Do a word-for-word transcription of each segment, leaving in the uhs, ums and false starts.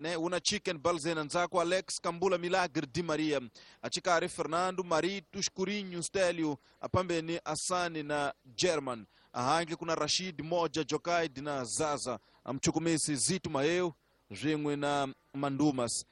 ne una Chicken Balzena ndzhaku Alex Kambula Milagre Di Maria achikari Fernando Marito Escurinho Stelio apambeni Asani na German ahangi kuna Rashid Moja Jokaid na Zaza amchukumisi Zito Maeu rin'we na Mandumas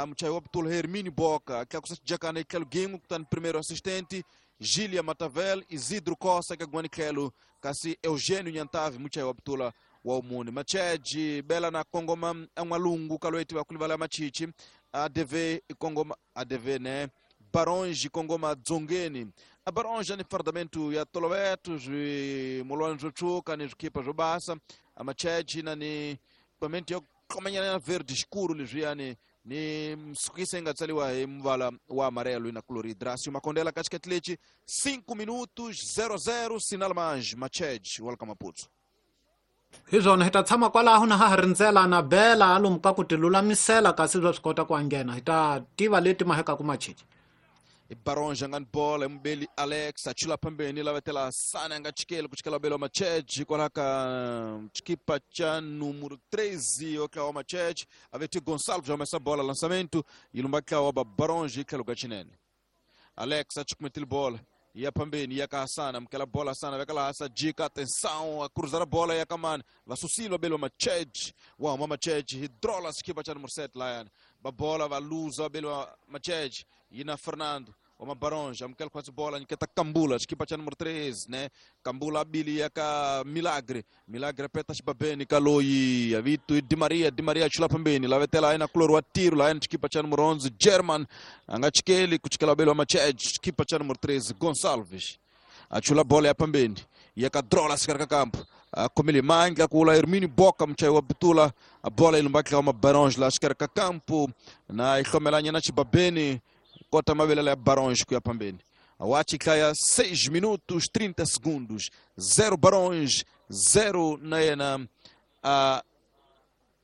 mchayi wa Ptula Hermínio Boca tlakusa xijakana etlhelo gin'we kutani primeiro assistente Gília Matavel Isidro Costa ka gwani tlhelo kasi Eugênio Nyantavi muchayi wa Ptula wa umuni Macheji bela na kongoma an'walungu ka loyi tiva ku livala machichi A D V kongoma A D V ne Baronge kongoma dzongeni a Baronge ni fardamento ya toloveto swimolwana swo tshuka ni swikhipa swo basa a Macheji na ni equipamento yo komanyana verde escuro leswiyani ni msukisa inga tsaliwa hi muvala wa amarelo na cloridrácio Makondela katikati leti cinco minutos zero zero sinal mais Macheji wa Maputo hi swona hi ta tshama kwalaho na ha ha rindzela na bela alomu ka ku ti lulamisela kasi swa swi kota ku anghena hi ta tiva leti mahekaku Macheji Baronge angani bola mbeli Alex achula pambeni lavetela sana anga chikele kuchikela belo Macheji kwala ka chikipa cha número treze okla wa Macheji aveti Gonçalves já bola lançamento ilumba kwa wa Baronge ikalo gachinene Alex achikumetile bola ia pambeni ia ka Hasana mkela bola sana vekala hasa jika atenção a cruzar a bola ia kamani vasusilo belo Macheji wa mama Macheji hidrola skipa cha número sete lá ba bola va luza belo Macheji ina Fernando uma Baronge amkela quase bola niketa Kambula skipa cha número treze né Kambula bili ya ka Milagre Milagre peta xibabeni kaloi avitu Di Maria Di Maria chula pambeni la vetela ina kloro wa tiro la ina skipa cha número onze German anga chikeli kuchikela belo Macheji skipa cha número treze Gonçalves achula bola ya pambeni ya ka drola sikarka campo komele manga kula Hermínio Boca mchai wa Bitula a bola ilumbaki kama Baronge la sikarka campo na ikhomelanya na chibabeni kota mabelele ya Barões kuya pambeni awachi kaya seis minutos trinta segundos zero Barões zero na yena a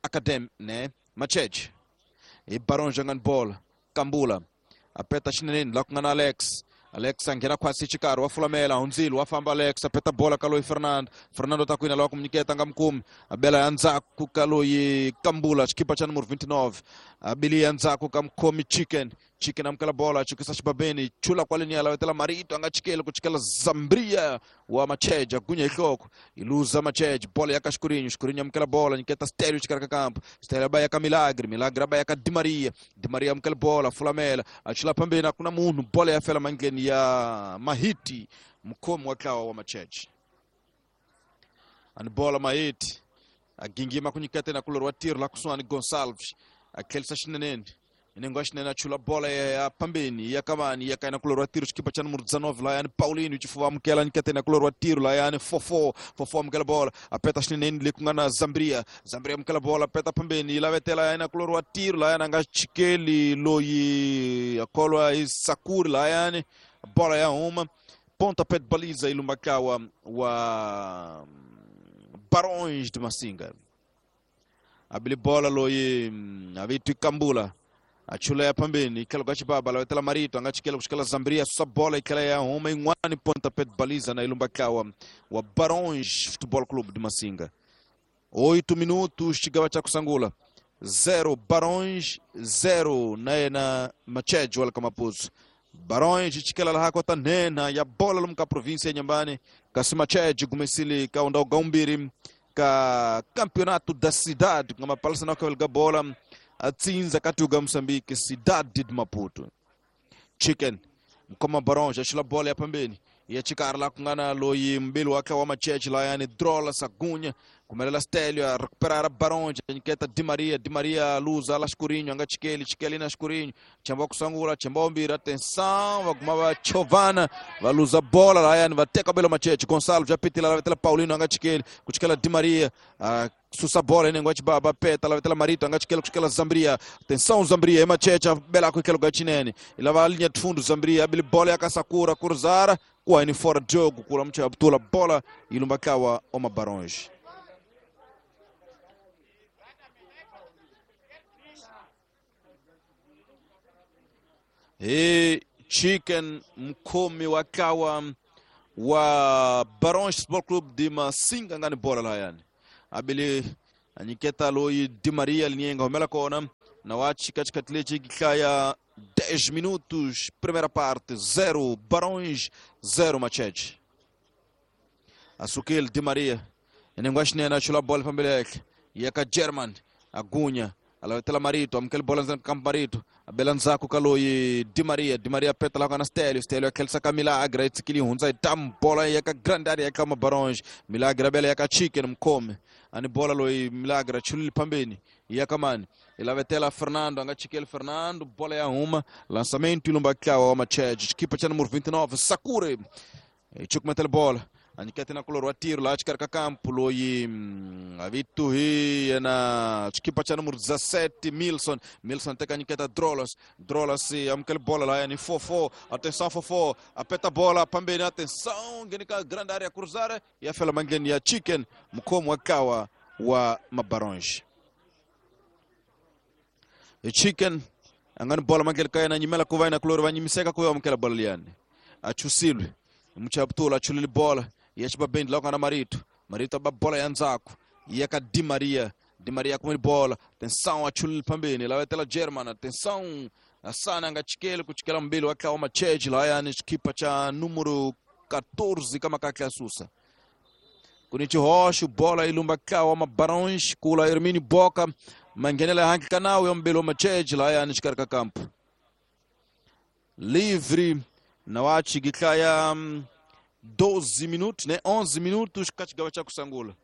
Academy né Macheji e Barões jogando bola Kambula apeta xinene la kungana Alex Alex angena kwasi chikaro wa fulamela unzilo wafamba Alex apeta bola kaloi Fernando Fernando takwina la kumnyiketa ngamkumi abela yanzaku kaloi Kambula chikipa cha número vinte e nove abili yanzaku kamkomi Chicken Chicken amkala bola chikisa chibabeni chula kwa linia la wetela Marito angachikele kuchikela Zambria wa Macheji agunya ihloko iluza Macheji bola ya Kaskurinho Escurinho amkala bola nyiketa Stelio chikaraka campo Stelio baya ka Milagre Milagre baya ka Di Maria Di Maria amkala bola fulamela achula pambeni akuna munhu bola ya fela mangeni ya Mahiti mkomo wa klawa wa Macheji ani bola Mahiti agingima kunyikete na kulorwa tiro la kuswani Gonçalves akelsa xinenene inengo xinene achula bola ya pambeni ya kamani ya kaina kulorwa tiro xikipa cha número dezenove la yani Paulinho chifuva mukela nyikete na kulorwa tiro la yani fofo fofo mukela bola apeta xinene le kungana Zambria Zambria mukela bola apeta pambeni la vetela yana kulorwa tiro la yani anga chikeli loyi akolwa isakuri la yani bola ya uma pontapé de baliza ilumbakawa wa Barões de Massinga abili bola loyi avitu Kambula achula ya pambeni ikela gachibaba la wetela Marito angachikela kushikela Zambria susa bola ikela ya uma in'wani pontapé de baliza na ilumbakawa wa Barões Futebol Clube de Massinga oito minutos chigava cha kusangula zero Barões zero naye na Macheji wala Maputo Barões chikela la hakota nena ya bola lumka província ya Nyambane kasi Macheji gumesili ka unda gaumbiri ka campeonato da cidade ngama palsa na ka bola atsinza katuga Moçambique cidade de Maputo Chicken mkoma Barões achila bola ya pambeni ya chikara la kungana loyi mbili wake wa Macheji la yani drola sagunya kumelela Stelio a recuperar a Barões nyiketa Di Maria Di Maria luza la Escurinho anga chikeli chikeli na Escurinho chamba kusangula chamba ombira atenção vaguma Chovana valuza bola la yani vateka belo Macheji Gonçalo já pitila la vetela Paulino anga chikeli kuchikela Di Maria a susa bola inengo achibaba peta la vetela Marito anga chikeli kuchikela Zambria atenção Zambria e Macheji bela com aquele gachinene ila va linha de fundo Zambria abili bola ya Kasakura cruzara kwa ni fora de jogo kula mcha Abdullah bola ilumbakawa oma Barões E Chicken mkomi wakawa wa Barões Futebol Clube de Massinga ngani bola la yani abili A nyiketa loyi Di Maria linyenga humela kona na wachi katikati lexi hlaya dez minutos, primeira parte, zero Barões, zero Machete. Asukile Di Maria inengwa xinene a chula bola fambele henhla ya ka German Agunya alavetela Marito amukela bola ndzeni ka Marito abela ndzhaku ka loyi Di Maria Di Maria peta la ka Stelio Stelio akhelisa ka Milagre tsikili hundza yi tam bola ya ka grande area ya ka Mabarões Milagre abela ya ka Chicken mkhome ani bola loyi Milagre chulile phambeni ya ka mani ilavetela Fernando anga chikele Fernando bola ya huma lançamento ilumba tlawa wa Machete xikipa cha número vinte e nove Sakure ichukumetela bola anyikete na kulor wa tiro lá xikarhi ka campo loyi avitu hi yena xikipa cha número dezessete Milson Milson teka anyiketa Drolas Drolas amukela bola lá yani Fofo atenção Fofo apeta bola pambeni atenção ngeni ka grande área cruzar ya fela mangeni ya Chicken mkhomo wa kawa wa Mabarões e Chicken angani bola mangeni ka yena nyimela ku va yena kulor va nyimiseka ku amukela bola liyani achusilwe Mchaptula chulile bola yachiba bendi la kana Marito Marito ba bola ya ndzhaku ya ka Di Maria Di Maria kumele bola atenção achulile pambeni la vetela German atenção Asana nga chikele kuchikela mbili wa kawa Machete la yani xikipa cha número quatorze kama kakla susa kunichi hoxo bola ilumba kawa Mabarões kula Hermínio Boca mangenela hanki kanau ya mbili wa Machete la yani xikarhi ka campo livre na wachi gitlaya doze minutos, né? onze minutos kachigawa cha kusangula.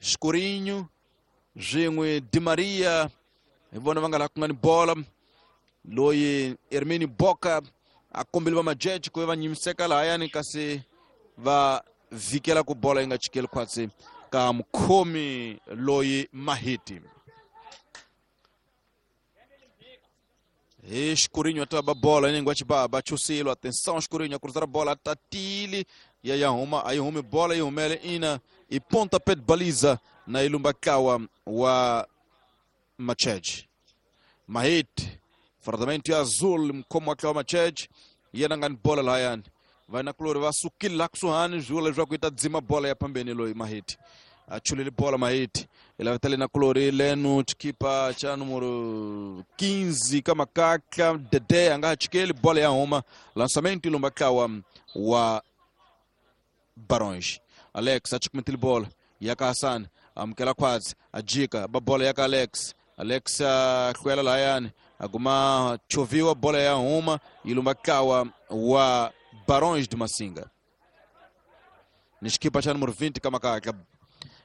Escurinho, Jingue Di Maria, vona vanga la kungani bola. Loyi Hermínio Boca akombeliwa Majete ku va nyimiseka laha yani kasi va vikela ku bola yi nga chikeli khwatsi ka mukhomi loyi Mahiti. Escurinho até a bola, ninguém ba chusilo, atenção Escurinho, cruzar a bola, tatili, e aí arruma, aí arruma bola e humele ina e pontapé de baliza na Ilumbakawa wa Machete. Mahit, fardamento azul como aquela Machete, e anangan bola lá yan. Vai na cloro, vai sukil lá kusuhani, jula já kuita dzima bola ya pambeni loi Mahit. Achulile bola Mahit. Ele vai estar na colore Leno, chikipa cha número quinze, Kamakaka, Dede, anga chikele, bola ya homa, lançamento ilumbakawa wa Barões. Alex, achukumetile bola, yaka Hassan, amukela khwatsi, ajika, ba bola yaka Alex, Alex akwela layani, aguma choviwa bola ya homa, ilumbakawa wa Barões de Massinga. Ni chikipa cha número vinte, Kamakaka.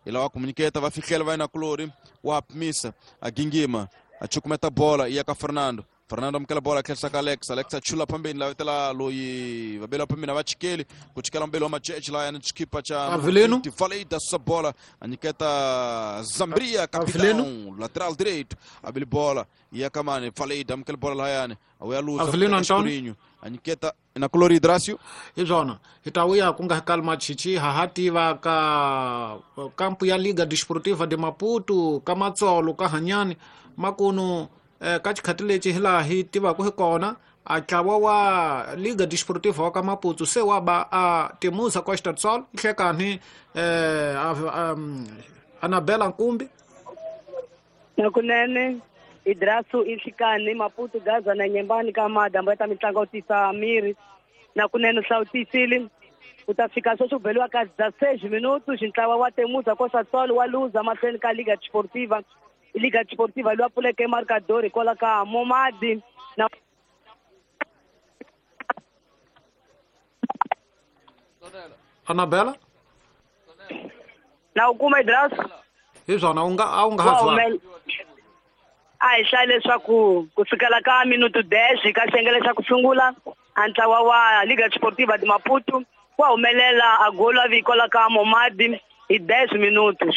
Ela wa comuniceta vai ficar vai na colore wa missa a gingima a chukumeta bola ia ka Fernando Fernando amkela bola quer sacar Alex Alex achula pambeni la vetela loyi vabela pambeni va chikeli kuchikela mbele wa Machete la yana chikipa cha Avelino falei da sua bola aniketa Zambria capitão lateral direito abele bola ia kamane falei da amkela bola la yana awe luza Avelino Antônio aniketa na colore Hidracio izona hitauya kunga kalma chichi hahativa ka kampu ya Liga Desportiva de Maputo kamatsolo ka hanyani makunu eh, ka xikhati lexi hilaha hi tivaka hi kona a ntlawa wa Liga Desportiva wa ka Maputo se wa ba a Temusa Costa do Sol hlekani eh, um, Anabela Nkumbi nakunene Idrasu inhlikani Maputo Gaza na Nyembani ka madambo ya ta mitlangu tisa miri na kunene hlawutisile ku ta fika sweswi ku beliwa ka dezesseis minutos ntlawa wa Temusa Costa do Sol wa luza mahlweni ka Liga Desportiva Liga Desportiva loyi a pfuleke marcador hikwalaho ka Momadi na Anabela na u kuma Idrasu hi swona u nga a wu nga ha zwala a hi hlaya leswaku ku sukela ka minuto dez ka xiyenge xa ku sungula a ntlawa wa Liga Desportiva de Maputo wa humelela a golo a vikola ka Momadi hi dez minutos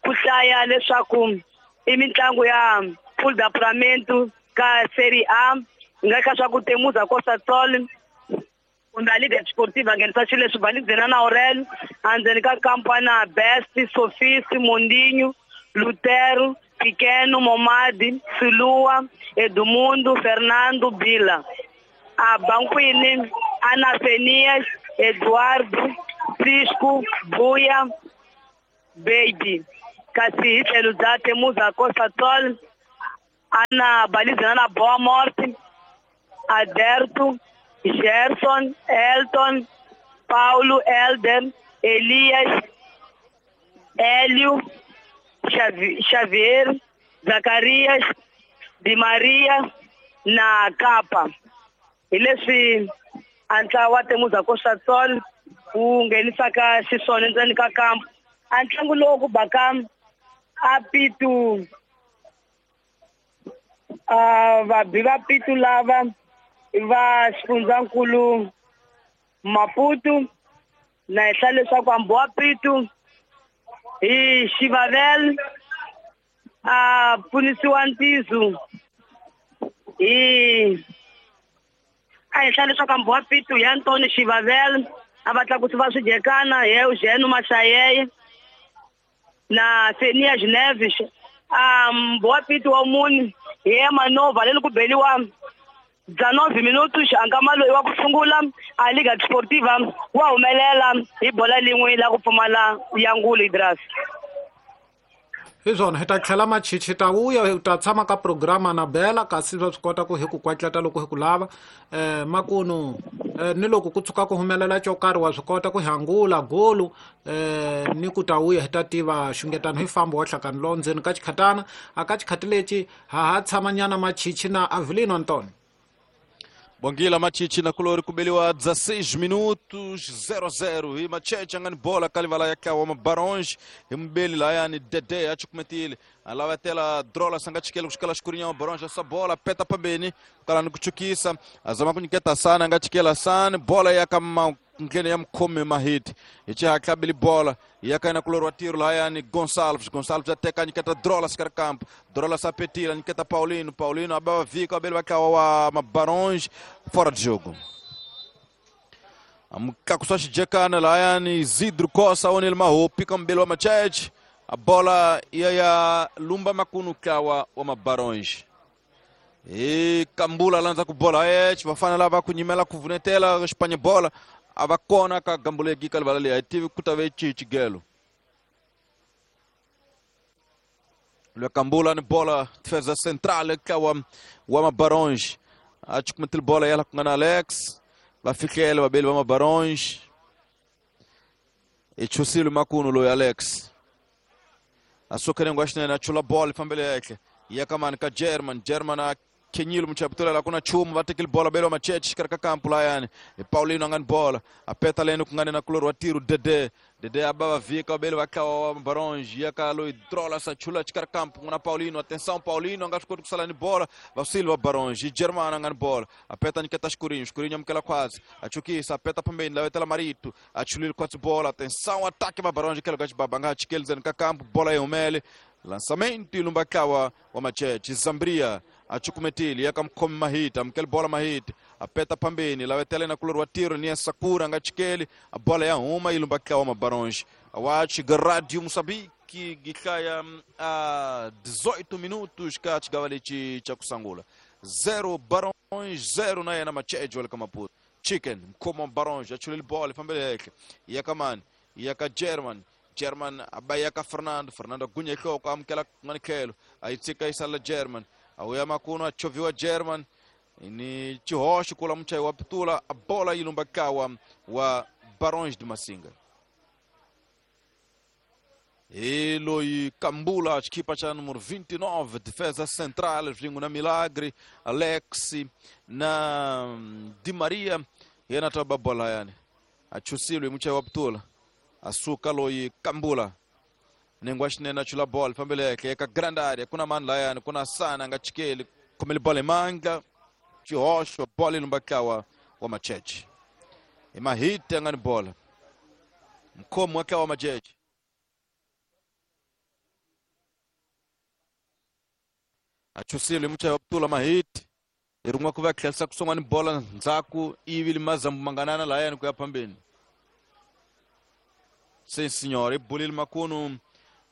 ku hlaya leswaku i mitlangu ya Pool de Apuramento ka Série A nga ka swa ku Temusa Costa do Sol kumbe a Liga Desportiva nghenisa xilo leswi Balizena na Aurelio endzeni ka kampana Best Sofisi Mondinho Lutero Pequeno, Momadi, Silua, Edmundo, Fernando, Bila. A Banquini, Ana Fenias, Eduardo, Cisco, Buia, Baby. Kasi hi tlhelo bya Temuza Costa Sol ana balizana na Boa Morte, Aderto, Gerson, Elton, Paulo, Elder, Elias, Hélio, Xavier, Zacarias, Di Maria na Kapa. Hi leswi a ntlawa wa Temuza Costa Sol wu nghenisaka xiswona endzeni ka kampu. A ntlangu lowu ku baka a pitu a vabi va pitu lava va xifundzankulu Maputo na henhla leswaku hambi wa pitu hi Xivavel a pfunisiwa Ntizu hi a henhla leswaku hambi wa pitu hi Antoni Xivavel a va tlakusi va swidyekana hi Eugene Mashayeye na Senia Geneves a mbowa pitu wa muni hi Emanova leni ku beliwa dezenove minutos ankama loyi wa ku sungula a Liga Desportiva wa humelela hi bola lin'we la ku pfumala ya ngulu Idras. Hi swona hi ta tlhela machichi ta vuya hi ta tshama ka programa na Bela kasi va swi kota ku hi ku kwatleta loko hi ku lava eh makunu ni loko ku tshuka ku humelela xo karhi wa swi kota ku hangula golu eh ni ku ta vuya hi ta tiva xungetano hi fambo wa hlakani lo ndzeni ka xikhatana a ka xikhati lexi ha ha tshamanyana machichi na Avelino Antonio. Bongila machichi na kulori kubeliwa dezesseis minutos zero zero hi macheche angani bola kalivala ya kawa mabaronge imbeli la yani Dede achikumetile alava tela drola sangachikele kushikala shikurinha mabaronge essa bola peta pambeni kala nikuchukisa azama kunyiketa sana angachikela sana bola yakama ngene ya mkhome mahiti ichi hakabili bola yakaina kulorwa tiro la yani Gonçalves Gonçalves ateka nyiketa drola sikar campo drola sapetila nyiketa Paulino Paulino abava vika abele bakawa wa mabaronge fora de jogo amkakuswa xijekana la yani Isidro Costa onel maho pika mbele wa macheche a bola ya ya lumba makunu kawa wa mabaronge e kambula lanza ku bola eh vafana lava kunyimela kuvunetela Espanha bola avakona ka gambulegi kalvala le tive kutave chichigelo le kambula ni bola defesa central ka wa wa mabaronge achikumetil bola yala kungana Alex vafikele babeli wa mabaronge echusile makuno lo Alex asokere ngwashina na chula bola fambele yake yakamani ka German German Kenyilo mchaputula la kuna chumu vatekile bola belo macheche karaka kampu la yani e Paulino angani bola apeta leno kungane na kuloro wa tiro Dede Dede abava vika belo vakawa mabaronge yakalo idrola sachula chikara kampu kuna Paulino atenção Paulino angashiko kusala ni bola va Baronge German angani bola apeta niketa Escurinho Escurinho amkela quase achukisa apeta pambeni la wetela Marito achulile quase bola atenção ataque va Baronge kelo gachi babanga chikelzen ka kampu bola yomele lançamento ilumbakawa wa macheche Zambria achukumetili yakamkhome mahita amkele bola mahita apeta pambeni lawetele na kulor wa tiro ni Sakura ngachikeli a bola ya uma ilumbakawa mabaronge awachi Radio Moçambique gikaya a dezoito minutos ka chigavalichi cha kusangula zero Baronge zero na na macheche wala kama Chicken mkomo Baronge achulili bola pambele yake yakamani yaka German German abayaka Fernando Fernando gunya hloko amkela nganikelo ayitsika isala German awuya makuno achoviwa German ni chihoxo kula mchayi wa pitula a bola ilumbakawa wa Barões de Massinga Eloi Kambula equipa cha número vinte e nove defesa central vingo na Milagre Alex na Di Maria yena taba bola yani achusilwe mchayi wa pitula asuka loi Kambula nengwa xinene achula bola fambele yake eka grande área kuna mani layani kuna sana ngachikeli khomele bola emandla xihoxo bola ilumbakawa wa macheche emahiti angani bola mkhomo wake wa macheche achusile muchayi wa putula mahiti irun'wa ku va tlherisa kusongwani bola ndzhaku ivi limazambu manganana layani ku ya phambeni. Sim, senhor. E Bolil Macuno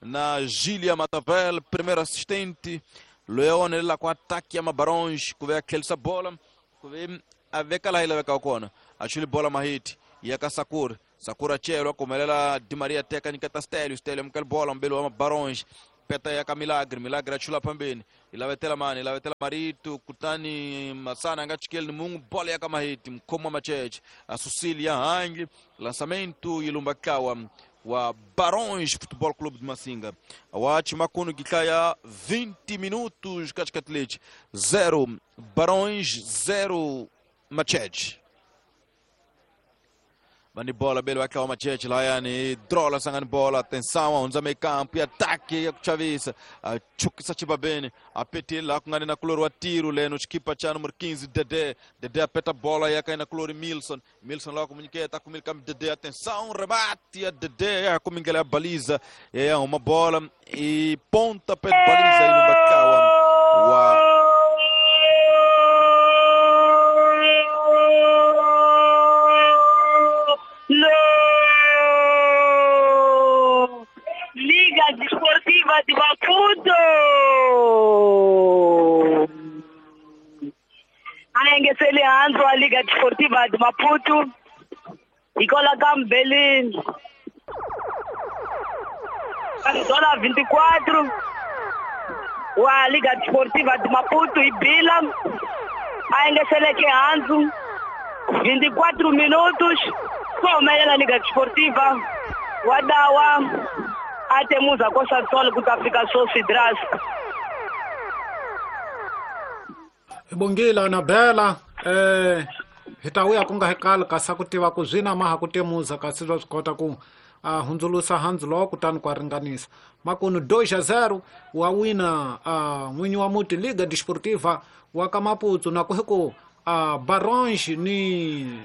na Gília Matavel, primeiro assistente. Leone lá com ataque a Mabaronge, que vem aquele essa bola, que vem a ver que ela vai calcona. Achuli bola Mahit, e a Sakur, Sakura Chelo kumelela Di Maria teka nyiketa Stelio Stelio mkali bola mbele wa Barons peta ya ka Milagre Milagre achula pambeni ilavetela mani ilavetela Marito kutani Masana nga chikeli ni mungu bola ya kama hiti mkoma macheche Asusilia hangi lançamento ilumba kawa wa Barões Futebol Clube de Massinga. Awachi makuno gikaya vinte minutos katikati zero Barões zero Macheche. Bani bola belo akawa Macheche lá yani drola sangani bola atenção onza meio campo e ataque ya kuchavisa chukisa chibabene apete lá kungani na kulori wa tiro leno chikipa cha número quinze Dedé Dedé apeta bola ya kai na kulori Milson Milson lá comunica kumilika Dedé atenção rebate a Dedé ya kumingela a baliza é uma bola e ponta pé baliza e no bakawa wa Liga Desportiva de Maputo. Ayengesele hanzo a Liga Desportiva de Maputo. Ikola kambeli. Dola vinte e quatro. Wa Liga Desportiva de Maputo e Bila. Ayengesele ke hanzo vinte e quatro minutos. Kwa Liga Desportiva. Wadawa atemuza kosa tolo kutafika sosi dras. Bongila na bela eh hitawuya kunga hekala kasi ku tiva ku zwina maha ku temuza kasi swa swi kota ku a hundzulusa handzu lowo kutani ku ringanisa makunu dois a zero wa wina a n'winyi wa muti Liga Desportiva wa ka Maputo na ku hi ku a Barões ni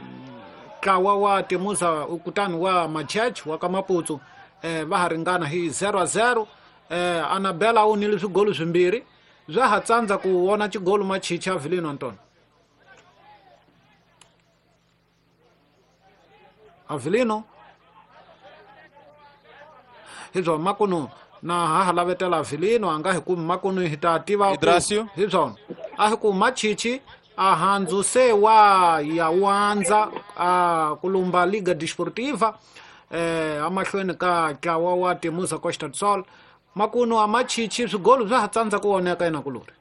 ntlawa wa temuza kutani wa Macheche wa ka Maputo eh va ha ringana hi zero a zero eh Anabela u nile swigolo swimbirhi swa ha tsandza ku vona xigolo Machicha Avelino Antonio Avelino hi swona makunu na ha ha lavetela Avelino a nga hi kumi makunu hi ta tiva hi swona a hi ku Machichi a handzu se wa ya wandza a kulumba Liga Desportiva eh amahlweni ka ntlawa wa Temuza Costa do Sol makunu a Machichi swigolo swa ha tsandza ku voneka ina kulori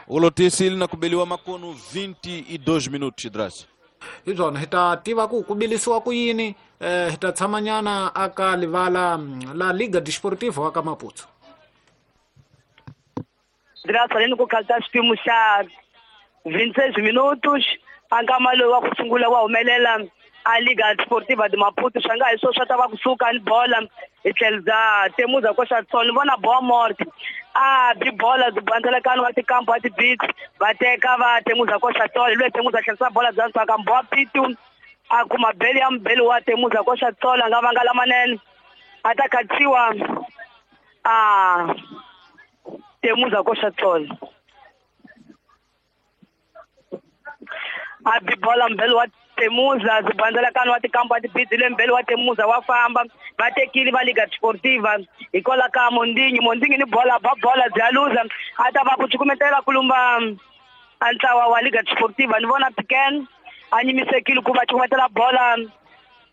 ulotisile na kubeliwa makunu vinte e dois minutos Drasi hi swona hi ta tiva ku ku bilisiwa ku yini eh hi ta tshamanyana aka livala la Liga Desportiva wa ka Maputo Drasi aleni ku khalta xipimo xa vinte e seis minutos a nkama lowu wa ku sungula wa humelela a Liga Desportiva de Maputo swa nga hi swo swa ta va kusuka ni bola hi tlhelo bya Temuza Costa do Sol ni vona Boa Morte a bi bola byi bandzelekani wa tikampo wa tibits va teka va Temuza Costa do Sol loyi Temuza tlherisa bola bya ntswaka Mboa Pitu a kuma beli ya mbeli wa Temuza Costa do Sol a nga vanga lamanene a ta khatsiwa a Temuza Costa do Sol a bi bola mbeli wa Temuza zibandzelakani wa tikampo wa tibidzi le mbeli wa Temuza wa famba va tekile va Liga Desportiva hikwalaho ka Mondingi Mondingi ni bola ba bola bya luza a ta va ku cukumetela kulumba a ntlawa wa Liga Desportiva ni vona Piken a nyimisekile ku va cukumetela bola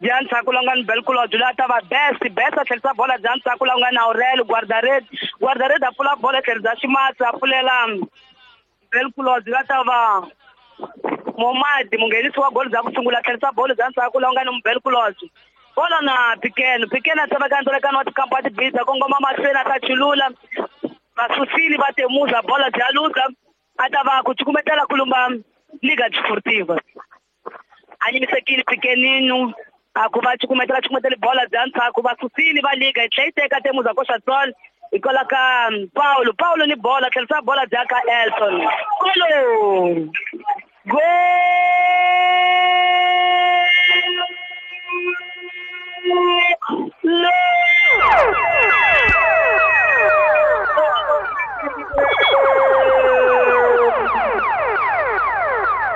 bya ndzhaku la nga ni Belkulodyo la ta va best best a tlherisa bola bya ndzhaku la nga na Aurel Guardared Guardared a pfula bola tlhelo bya Ximatsi a pfulela Belkulodyo la ta va Momadi munghenisi wa golo bya ku sungula tlherisa bolo bya ndzhaku la nga ni Mbelkulodyo bola na Piken Piken a tseveka ndzelekano wa tikampo wa tibidza kongoma mahlweni a ta chulula vasusile va Temuza bola bya luza a ta va ku cukumetela kulumba Liga Desportiva a nyimisekile Pikeninu a ku va cukumetela cukumetela bola bya ndzhaku vasusile va Liga yi tlhela yi teka Temuza Costa do Sol hikwalaho ka Paulo Paulo ni bola tlherisa bola bya ka Elton Golo Gol!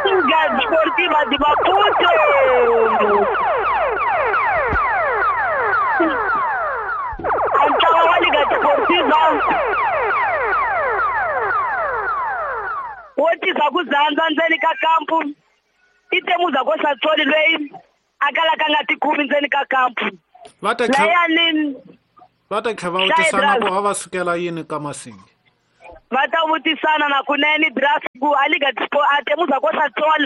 Liga Desportiva de Maputo! Antlawa wa Liga Desportiva wo tisa ku dzandza ndzeni ka kampu i Temuza Costa do Sol loyi A kala ka nga tikumi ndzeni ka kampu. Va ta layani va ta tlhela va vutisana ku va sukela yini ka Masingi. Va ta vutisana na kunene draft ku a Liga a Temuza Costa Sol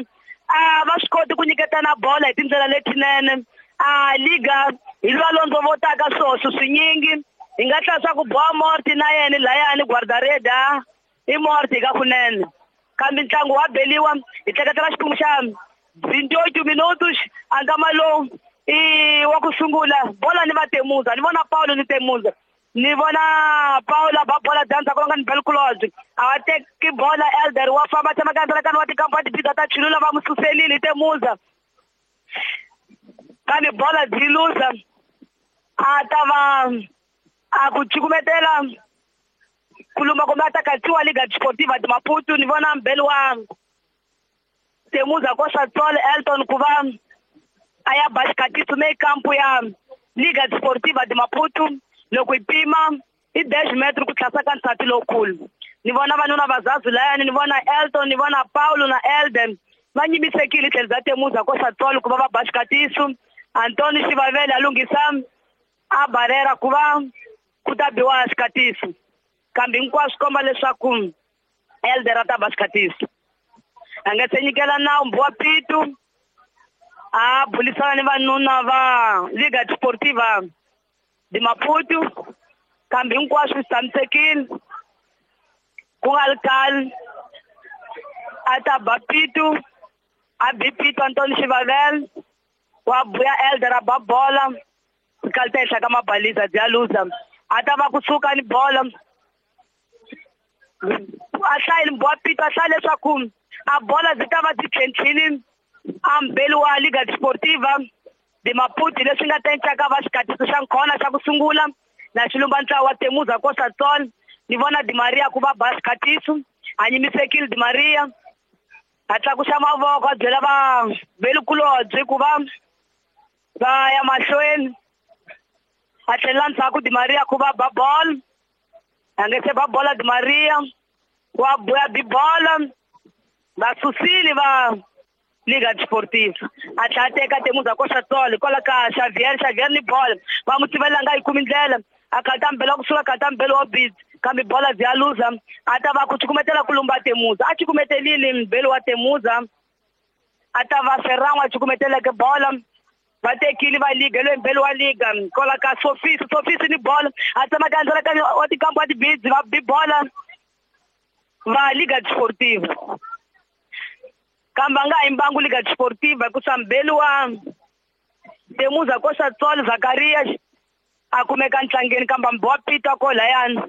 a va swi koti ku nyiketana bola hi tindlela letinene. A Liga hi lwa londzo votaka swoxo swinyingi hi nga tlhela swa ku boha Morti na yena layani guardareda i Morti ka kunene kambe ntlangu wa beliwa hi tleketela xiphemu xa vinte e oito minutos a nkama lowu i wa ku sungula bola ni va Temuza ni vona Paulo ni Temuza ni vona Paulo ba bola danza ku nga ni Belkulodge a va teki bola Elder wa famba tshama ka ndzela wa tikampa ti ta chulula va mu suselile Temuza kambe bola byi luza a ta va a ku cukumetela kuluma kumbe a ta katsiwa Liga Desportiva de Maputo ni vona mbeli wa Temuza Costa Sol Elton ku va a ya ba xikatiso me kampu ya Liga Desportiva de Maputo loko yi pima i dez metro ku tlhasa ka nsati lowukulu ni vona vanuna vazazi layani ni vona Elton ni vona Paulo na Elden va nyimisekile tlhelo bya Temuza Costa Sol ku va va ba xikatiso Antoni Xivavele a lunghisa a barera ku va ku ta biwa xikatiso kambe hinkwaswo komba leswaku Elder a ta ba xikatiso a nga se nyikela nawu Mbuwa Pitu a bulisana ni vanuna va Liga Desportiva de Maputo kambe hinkwaswo swi tshamisekile ku nga ri khale a ta ba Pitu a bi Pitu Antoni Xivavele wa buya Elder a ba bola rikalita henhla ka mabaliza bya luza a ta va kusuka ni bola a hlayile Mbuwa Pitu a hlaya leswaku a bola byi ta va byi tlhentlhile a mbeli wa Liga Desportiva de Maputo leswi nga ta encaka va xikatiso xa nkhona xa ku sungula na xilumba ntlawa wa Temuza Costa Sol ni vona Di Maria ku va ba xikatiso a nyimisekile Di Maria a tlakusa mavoko a byela va velikulobye ku va va ya mahlweni a tlhelela ndzhaku Di Maria ku va ba bolo a nge se ba bola Di Maria wa buya bi bola va susile va Liga Desportiva a tlhela a teka Temuza Costa Sol hikwalaho ka Xavier Xavier ni bola va mu tivela nga yi kumi ndlela a kata mbelo kusuka kata mbelo wa bid kambe bola bya luza a ta va ku cukumetela ku lumba Temuza a cukumetelile mbelo wa Temuza a ta va Ferrango a cukumeteleke bola va tekile va liga loyi mbelo wa liga kwala ka Sofisi Sofisi ni bola a tsemaka ndzela ka wa tikambu wa tibidzi va bi bola va Liga Desportiva kambe a nga yimbangu Liga Desportiva hikusa mbelo wa Temuza Costa Sol Zakarias a kumeka ntlangeni kambe Mbuwa Pitu a ko layani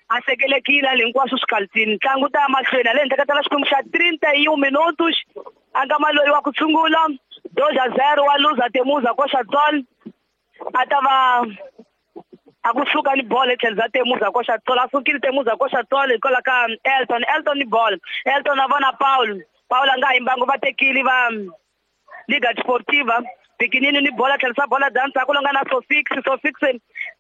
a sekelekile ale hinkwaswo swi ntlangu ta ya mahlweni ale henhla ka tala xikwembu xa trinta e um minutos a nga maloyi wa ku sungula dois a zero wa luza Temuza Costa Sol a ta va a kusuka ni bola etlhelo bya Temuza Costa Sol a sukile Temuza Costa Sol hikwalaho ka Elton Elton ni bola Elton a vona Paulo Paulo a nga yimbangu va tekile va Liga Desportiva Pikinini ni bola tlherisa bola dansa ku longa na Sofix Sofix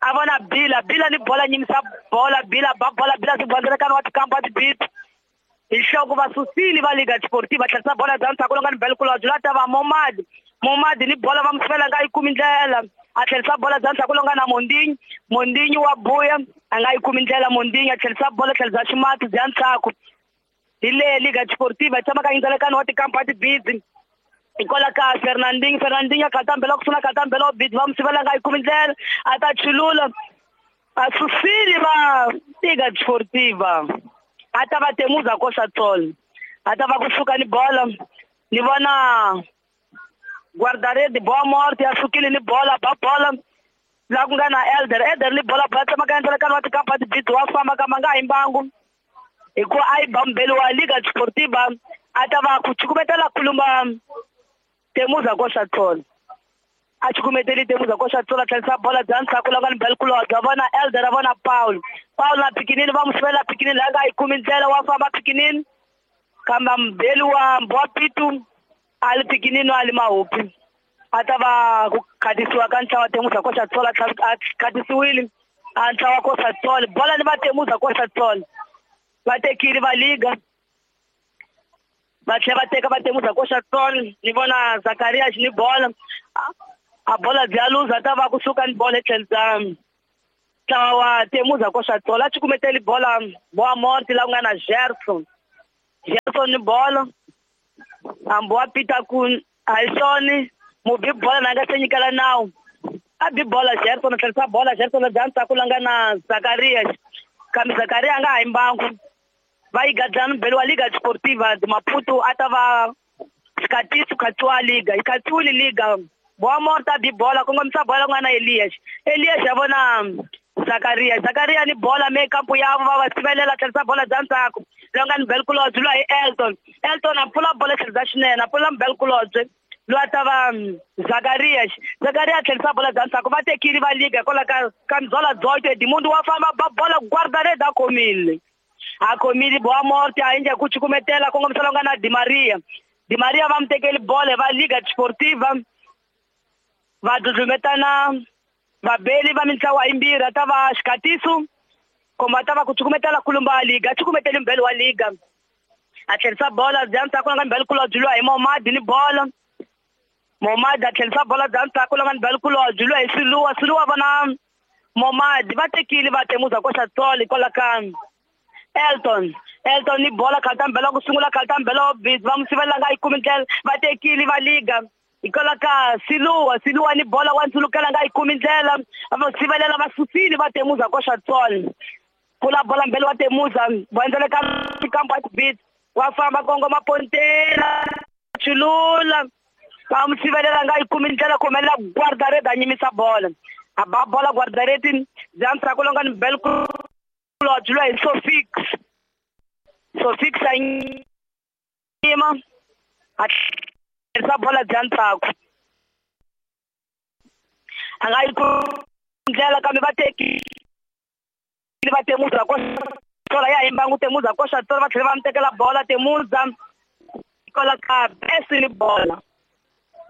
a vona Bila Bila ni bola nyimisa bola Bila ba bola Bila sibandzelekana wa tikampa wa tibit hi nhloko va susile va Liga Desportiva tlherisa bola dansa ku longa ni Belkulodge la ta va Momad Momad ni bola va musivela nga yi kumi ndlela a tlherisa bola dansa ku longa na Mondinyi Mondinyi wa buya a nga yi kumi ndlela Mondinyi a tlherisa bola tlherisa ximati bya ntshaku hi le Liga Desportiva yi tshama ka yindzelekano wa tikampa wa tibidzi hikwalaho ka Fernandinho Fernandinho a kata mbelo kusuna kata mbelo bidzi va musivela nga yi kumi ndlela a ta chulula a susile va Liga Desportiva a ta va Temuza Costa Sol a ta va kusuka ni bola ni vona guardarede boa morte a sukile ni bola ba bola la ku nga na Elder Elder ni bola ba tsamaka endzelekano wa tikampa tibidzi wa famba kamba nga yimbangu hikuva a yi ba mbelo wa Liga Desportiva a ta va ku cukumetela kulumba Temuza Costa Sol a cukumeteli Temuza Costa Sol a tlherisa bola bya ndzhaku la nga ni Belkulodge a vona Elder a vona Paulo Paulo na Pikinini va musivela Pikinini la nga yi kumi ndlela wa famba Pikinini kambe mbeli wa Mbuwa Pitu a li Pikinini a li mahupi a ta va ku khatisiwa ka ntlawa Temuza Costa Sol a khatisiwile a ntlawa Costa Sol bola ni va Temuza Costa Sol va tekile va liga va tlhela va teka va Temuza Costa Sol ni vona Zakarias ni bola A bola bya luza ta va kusuka ni bola etlhelo ta ntlawa wa Temuza Koxa Tsolo a cukumeteli bola Boa Morte la ku nga na Gerson. Gerson ni bola hambi wa pita ku a hi swona mubi bola na nga se nyikela nawu a bi bola Gerson a tlherisa bola Gerson bya ntsako la nga na Zakaria kambe Zakaria a nga ha yi mbangu va yi gadlana mbele wa Liga Desportiva de Maputo a ta va Xikatiso khatsiwa liga yi khatsiwile liga Boa Morte a bi bola kongomisa bola ku nga na Elias Elias ya vona Zakaria Zakaria ni bola me kampo ya va va sivelela tlherisa bola bya ntsako loyi nga ni Belkulodze lwa hi Elton Elton a pfula bola tlherisa xinene a pfula Belkulodze lwa ta va Zakaria Zakaria a tlherisa bola bya ntsako va tekile va liga hikwalaho ka ka Mzola Dzoto Edmundo wa famba ba bola guarda-rede a khomile a khomile Boa Morte a endla ku cukumetela kongomisa loyi nga na Di Maria Di Maria va mu tekeli bola va Liga Desportiva va dludlumetana vabeli va mintlawa yimbirhi a ta va Xikatiso komba a ta va ku cukumetela kulumba liga a cukumeteli mbeli wa liga a tlherisa bola bya ntsako la nga mbeli kulobye lwa hi Momadi ni bola Momadi a tlherisa bola bya ntsako la nga mbeli kulobye lwa hi Siluwa Siluwa vona Momadi va tekile va Temuza Koxa Tsolo hikwalaho ka Elton Elton ni bola khalta mbela ku sungula khalta mbela wa busy va mu sivelela nga yi kumi ndlela va tekile va liga hikwalaho ka Siluwa Siluwa ni bola wa ndzulukela nga yi kumi ndlela va sivelela va susile va Temuza Koxa Tsolo pfula bola mbele wa Temuza va endzela ka kampo ya tibit wa famba kongoma pontela chulula va mu sivelela nga yi kumi ndlela khomelela guarda-rede a nyimisa bola a ba bola guarda-rede bya ntsako lo nga ni Belkulodze lwa hi Sofix Sofix a yima a tlherisa bola bya ntsako a nga yi kumi ndlela kambe va tekile va Temuza Koxa ya hi mbangu Temuza Koxa Tsolo va tlhela va mu tekela bola Temuza hikwalaho ka Best ni bola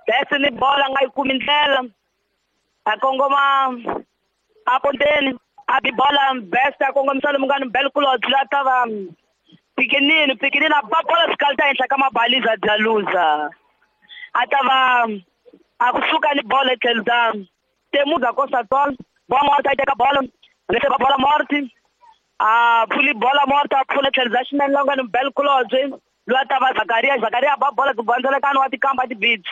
Best ni bola a nga yi kumi ndlela a kongoma a ponteni a bi bola Best a kongomisa lomu nga ni Belkulodze la ta va Pikinini Pikinini a ba bola swikalita henhla ka mabaliza bya luza a ta va a kusuka ni bola etlhelo ta Temuza Koxa Tsolo Boa Morte a yi teka bola lese ba bola Morte a pfuli bola Morte a pfula tlhelo bya xinene la nga ni Belkulodze lwa ta va Zakaria Zakaria a ba bola ku bandzelekana wa tikamba tibits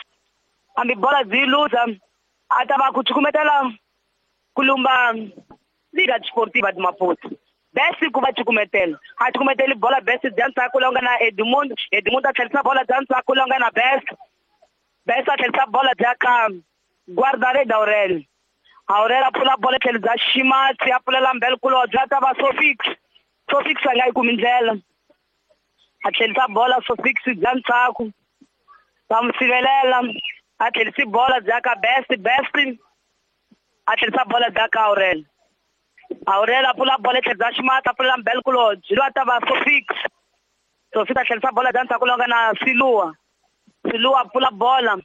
hambi bola byi luza a ta va ku cukumetela kulumba Liga Desportiva de Maputo Best ku va cukumetela a cukumeteli bola Best bya ntsako la nga na Edmundo Edmundo a tlherisa bola bya ntsako la nga na Best Best a tlherisa bola bya ka guarda-rede Aurel Aurel a pfula bola tlhelo bya Ximatsi a pfulela Mbelkulodze a ta va Sofix Sofix a nga yi kumi ndlela a tlherisa bola Sofix bya ntsako va mu sivelela a tlherisi bola bya ka Best Best a tlherisa bola bya ka Aurel Aurel a pfula bola tlhelo bya Ximatsi a pfulela Mbelkulodze lwa ta va Sofix Sofix a tlherisa bola bya ntsako la nga na Siluwa Siluwa a pfula bola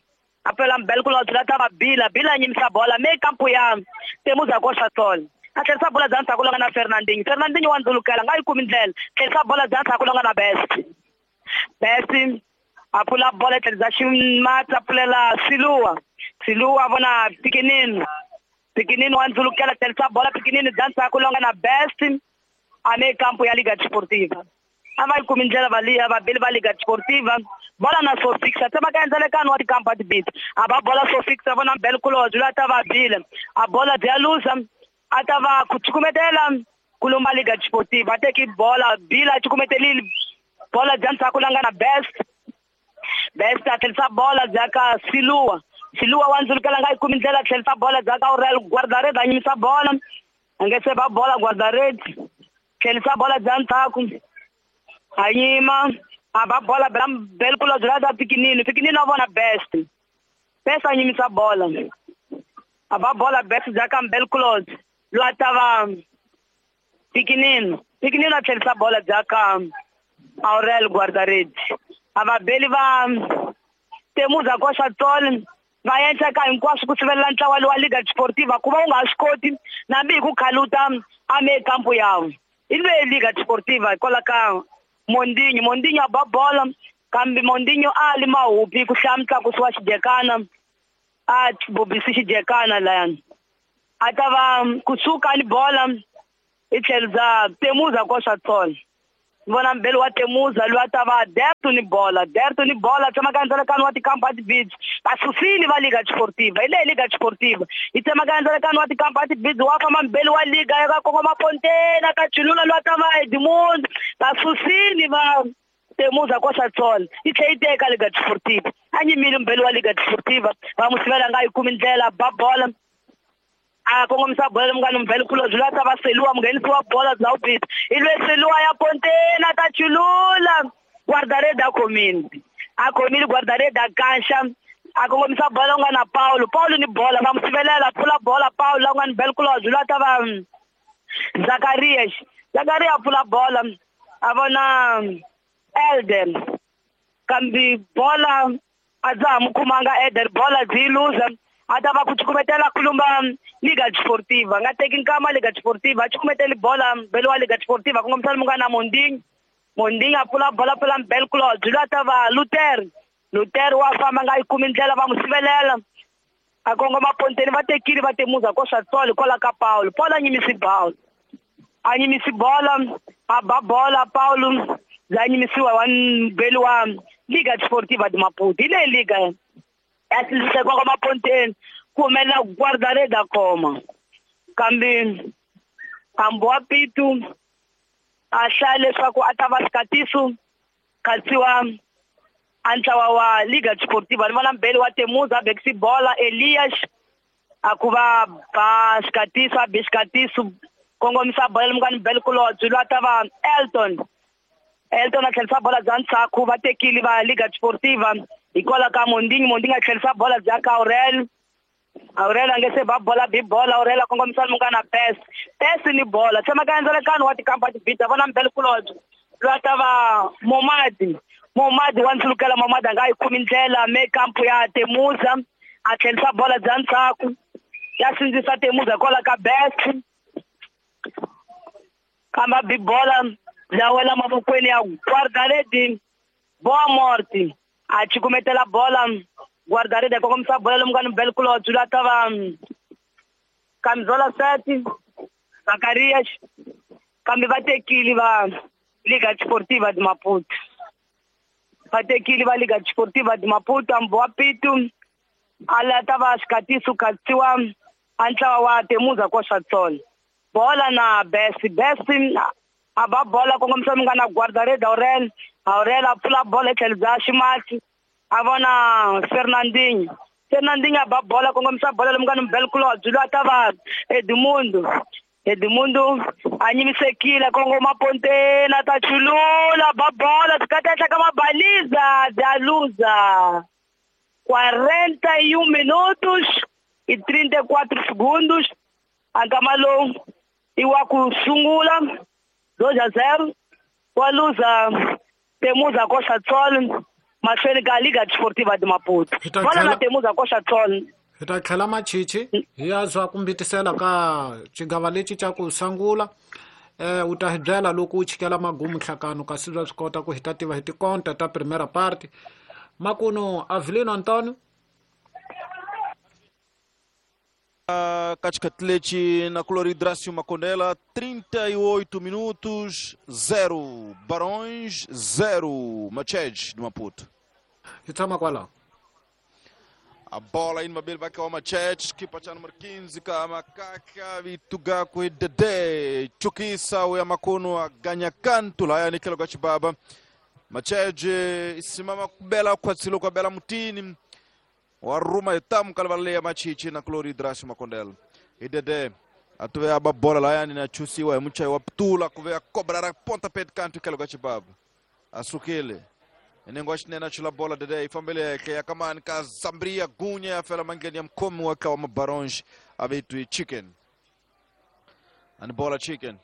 a pfulela Mbelkulodze la ta va Bila Bila a nyimisa bola me kampo ya Temuza Koxa Tsolo a tlherisa bola bya ntsako la nga na Fernandinho Fernandinho wa ndzulukela nga yi kumi ndlela tlherisa bola bya ntsako la nga na Best Best a pfula bola tlhelo bya Ximatsi a pfulela Siluwa Siluwa a vona Pikinini Pikinini wa ndzulukela tlherisa bola Pikinini bya ntsako la nga na Best a me kampo ya Liga Desportiva a va yi kumi ndlela va liya vabeli va Liga Desportiva bola na Sofix a tsema ka endzelekano wa tikampa tibit a ba bola Sofix a vona Mbelkulodze lwa ta va Bila a bola bya luza a ta va ku cukumetela kulumba Liga Desportiva a teki bola Bila a cukumetelile bola bya ntsako la nga na Best Best a tlherisa bola bya ka Siluwa Siluwa wa ndzulukela nga yi kumi ndlela a tlherisa bola bya ka Aurel guarda-rede a nyimisa bola a nge se ba bola guarda-rede tlherisa bola bya ntsako a yima a ba bola bya Belkulodze la ta Pikinini Pikinini a vona Best Best a nyimisa bola a ba bola Best bya ka Mbelkulodze lwa ta va Pikinini Pikinini a tlherisa bola bya ka Aurel guarda-rede a vabeli va Temuza Koxa Tsolo va endla ka hinkwaswo ku sivelela ntlawa lowa Liga Desportiva ku va u nga swi koti nambi hi ku khaluta a me kampo yawo i lweyi Liga Desportiva hikwalaho ka Mondinho Mondinho a ba bola kambe Mondinho a li mahupi ku hlaya mutlakusi wa xidekana A bobisi xijekana layani. A ta va kusuka ni bola hi tlhelo bya Temuza koxa tsolo. Vona mbele wa Temuza loyi a ta va Derto ni bola, Derto ni bola tsemaka ndzalakano wa tikampa ti-bids. Vasusile va Liga Desportiva, hi leyi Liga Desportiva. Yi tsemaka ndzalakano wa tikampa ti-bids wa famba mbele wa Liga ya ka kongoma Pontena ka Chilula loyi a ta va Edmundo. Vasusile va Temuza koxa tsolo. Yi tlhela yi teka Liga Desportiva. A nyimile mbele wa Liga Desportiva, va n'wi sivela nga yi kumi ndlela ba bola. A kongomisa bola munghana Mvele Kulobye loyi a ta va Seliwa munghenisi wa bola bya ubita. I lwe Seliwa ya Pontena ta Chilula. Guardarede a khomile. A khomile guardarede a kanxa. A kongomisa bola u nga na Paulo. Paulo ni bola va n'wi sivelela pfula bola Paulo la nga ni Mvele Kulobye loyi a ta va Zacharias. Zacharias a pfula bola a vona Elder. Kambe bola a dza ha n'wi khomanga Elder, bola byi yi luza. A ta va ku cukumetela kulumba Liga Desportiva. Nga teki nkama Liga Desportiva, a cukumeteli bola mbele wa Liga Desportiva kongomisa munghana Mondinho. Mondinho a pfula bola pfula Mvele Kulobye loyi a ta va Luther. Luther wa famba nga yi kumi ndlela va n'wi sivelela. A kongoma Ponteni va tekile va Temuza koxa tsolo hikwalaho ka Paulo. Paulo a nyimisi bola. A nyimisi bola, a ba bola Paulo bya nyimisiwa wa mbele wa Liga Desportiva de Maputo. Hi leyi liga ya sindzisa kongoma Ponteni ku humelela guardarede a khoma. Kambe hambi wa Pitu a hlaya leswaku a ta va xikatiso khatsiwa a ntlawa wa Liga Desportiva. Ni vona mbele wa Temuza a bekisi bola Elias a ku va ba xikatiso a be xikatiso kongomisa bola munghana Mvele Kulobye loyi a ta va Elton. Elton a tlherisa bola bya ndzhaku va tekile va Liga Desportiva hikwalaho ka Mondinho. Mondinho a tlherisa bola bya ka Aurel. Aurel a nge se ba bola bi bola Aurel a kongomisa munghana Pes. Pes ni bola tsemaka ndzalakano wa tikampa tibita vona Mvele Kulobye loyi a ta va Momadi. Momadi wa ndzulukela Momadi a nga yi kumi ndlela me kampu ya Temuza a tlherisa bola bya ndzhaku ya sindzisa Temuza hikwalaho ka Best. Kamba bi bola bya wela mavokweni ya guardarede Boa Morte. A cukumetela bola guardarede kongomisa bola lomu nga ni Mvele Kulobye loyi a ta va Camisola sete Zacarias. Kambe va tekile va Liga Desportiva de Maputo. Va tekile va Liga Desportiva de Maputo. Hambi wa Pitu a lata va xikatiso khatsiwa a ntlawa wa Temuza koxa tsolo. Bola na Best. Best a ba bola kongomisa munghana guardarede Aurel. Aurel a pfula bola hi tlhelo bya ximatsi a vona Fernandinho. Fernandinho a ba bola kongomisa bola lomu nga ni Mvele Kulobye loyi a ta va Edmundo. Edmundo a nyimisekile kongoma Pontena ta Chilula ba bola byi ka mabaliza bya luza. quarenta e um minutos e trinta e quatro segundos. A nkama lowu i wa ku sungula dois a zero wa luza Temuza koxa tsolo mahlweni ka Liga Desportiva de Maputo. Bola na Temuza koxa tsolo. Hi ta tlhela machichi hi ya zwa ku mbitisela ka xigava lexi xa ku sungula. Eh u ta hi byela loko u chikela magumu nhlakano kasi bya swi kota ku hi ta tiva hi tikonta ta primera parte. Makuno Avelino Antonio Katikati na Cloridrácio Macondela, trinta e oito minutos, zero Barões, zero Machej de Maputo. Hi tshama kwalaho. A bola aí no Mabel vai cair o Machete, que para número quinze, Kamakaka, Vitugaku e Dede, Chukisa, o Yamakuno, a ganha canto lá, Nikelo Gachibaba. Machete, simama bela kwatsilo kwa bela mutini. Waruma etamu kalvalea machichi na Cloridrácio Macondela. E Dede, atuve a bola lá na chusiwa, mucha wa ptula kuvea cobrar a ponta pé de canto Nikelo Gachibaba. Asukile. Nengoshi nena chula bola Dede ifambele ke yakamani ka Zambria gunya fela mangeni ya mkomu waka wa mabaronge avitu chicken. And bola chicken.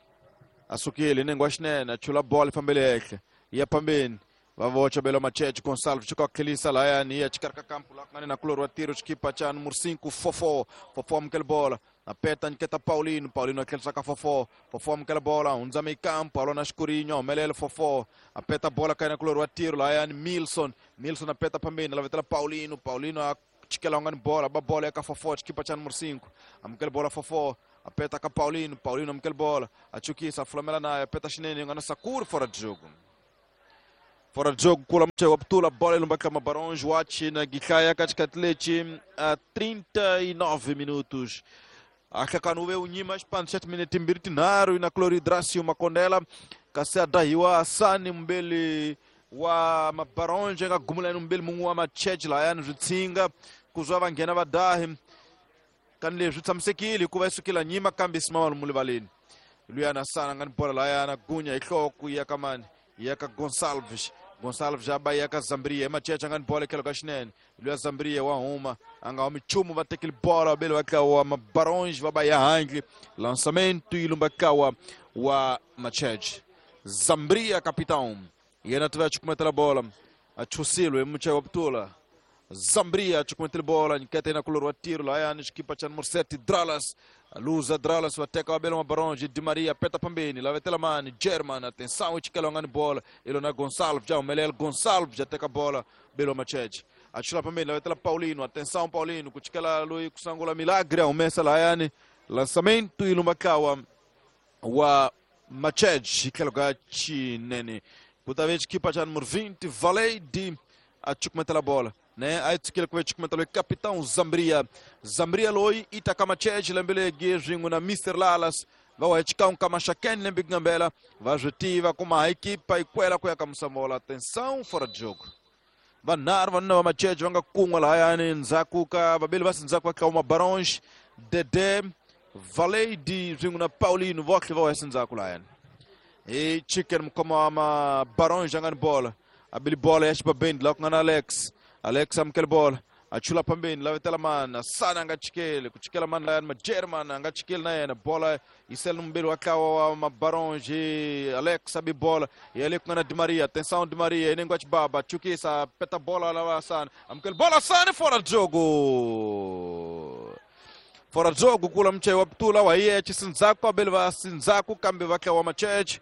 Asukile nengoshi nena chula bola ifambele ke ya pambeni. Vavocha belo Machete Gonçalves chika kelisa la yani ya chikarka kampu la ngani na kuloro tiro chikipa cha número cinco Fofó. Fofó mkel bola. Apeta nketa Paulino, Paulino akelisa ka Fofó. Fofó mkel bola, unzame kampu alona Escurinho, melele Fofó. Apeta bola kai na kuloro tiro la yani Milson. Milson apeta pambeni la vetela Paulino, Paulino a Chikela ngani bola ba bola ya ka fofo chikipa cha número cinco amukele bola fofo apeta ka Paulino Paulino amukele bola achukisa fulamela naye apeta xinene ngana Sakura fora de jogo fora de jogo kula mche wa ptula bola ilumba kama Barões Watch na Gikhaya katika Atleti a trinta e nove minutos akakanuwe unyima xipano xa timinete timbirhi tinharhu na Cloridracio Makondela kasi a dahiwa Asani mbeli wa Mabaronje nga gumulani mbeli mun'we wa Macheche layani swi tshinga ku zwa va nghena va dahi kani leswi swi tshamisekile hikuva yi sukela nyima kambe simama lomu rivaleni luyana Asani a nga ni bola layana gunya hi nhloko yi ya ka mani yi ya ka Gonçalves Gonçalves a ba ya ka Zambria Macheche a nga ni bola etlhelo ka xinene luya Zambria wa huma a nga humi nchumu va tekile bola vabeli va tlawa Mabaronge va ba ya handle lançamento yi lumba tlawa wa Macheche Zambria capitão yena tiva chukumetela bola a chusilwe muche wa ptula Zambria chukumetela bola nkete na kulor wa tiro layani xikipa cha número sete Dralas luza Dralas wa teka wabela Mabaronge Di Maria peta pambeni lavetela mani German atenção ichikela ngani bola ilona Gonçalves já umelel Gonçalves já teka bola belo Macheche achula pambeni lavetela Paulino atenção Paulino kuchikela lui kusangula Milagre umesa layani lançamento ilumbakawa wa Macheche ikela chinene kuta equipa cha número vinte Valeide a chukumetela bola né aí tsikile ku chukumetela capitão Zambria Zambria loi itaka Macheche lembele gezwingu na mister Lalas va wa chika kama Shaken lembe ngambela va zwitiva kuma equipa ikwela kuya ka musambola atenção fora de jogo vanharhu vanuna va Macheche va nga kun'wa lahayani ndzhaku ka vabeli va sindzhaku va ka Barões Dede Valeide zwingu na Paulino votlhe va wa sindzhaku lahayani e chicken mukoma wa Mabarões angani bola abili bola ya xibabeni la ku nga na Alex Alex amukele bola achula pambeni lavetela mani Asani a nga chikeli ku chikela mani layani Magerman a nga chikeli na yena bola yi sele mbeli wa tlawa wa Mabarões Alex abi bola ya le ku nga na Di Maria atenção Di Maria inengo ya xibaba chukisa peta bola lava Asani amukele bola Asani fora de jogo fora de jogo kula mche wa ptula wa iye chisinzaku abeli va sinzaku kambe va tlawa Macheche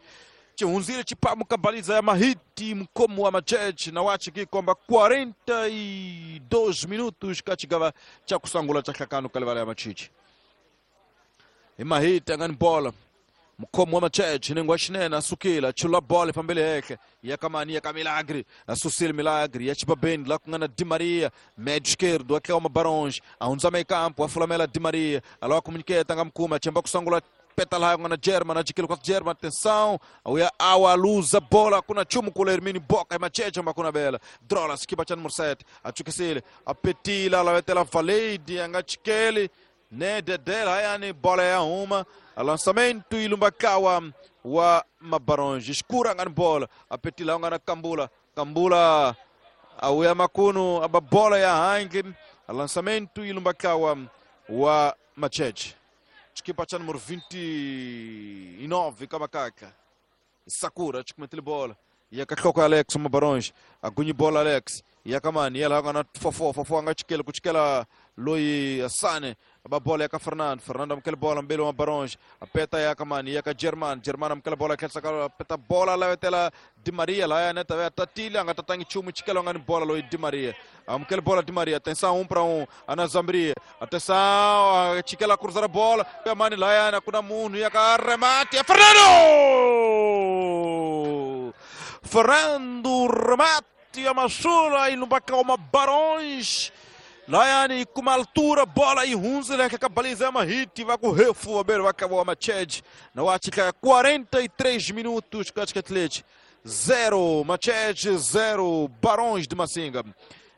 chihunzile chipamu kabaliza ya mahiti mkomo wa Macheche na wachi kikomba quarenta e dois minutos kachigava cha kusangula cha hlakano kalivala ya Machichi imahiti angani bola mkomo wa Macheche nengo xinene asukile chula bola fambele heke ya kamani ya Milagre asusile Milagre ya chibabeni la ku nga na Di Maria médio esquerdo aqui é uma Barões aunza meio campo afulamela Di Maria aloa comuniqueta nga mkuma chemba kusangula peta la ngana German achikilo kwa German atenção auya awa luza bola kuna chumu kula Hermini Boca Macheche makuna bela drola skipa cha número sete achukisile apetila la Valeide angachikeli ne Dedé yani bola ya uma lançamento ilumbakawa wa Mabarões escura ngani bola apetila ngana Kambula Kambula auya makunu aba bola ya hangi lançamento ilumbakawa wa Macheche equipa cha número vinte e nove Kamakaka Sakura chikumetele bola ya kahloko Alex Mabarões agunyi bola Alex ya kamani yela ngana fofo fofo anga chikele kuchikela loi Asane aba bola ya ka Fernando Fernando amkele bola mbele wa Barões apeta ya kamani ya ka German German amkele bola khetsa ka peta bola la vetela Di Maria la ya neta ya tatile anga tatangi chumu chikela ngani bola loi Di Maria amkele bola Di Maria atenção um para um ana Zambria atenção chikela cruzar a bola kamani la ya na kuna munhu ya ka remate ya Fernando Fernando remate ya masula ilumbaka uma Barões Laiane com uma altura, bola e hunza, que cabaliza uma hit, vai com refu, vai acabar uma Macheche. Na Ática, quarenta e três minutos, Atleti, zero, Macheche, zero, Barões de Massinga.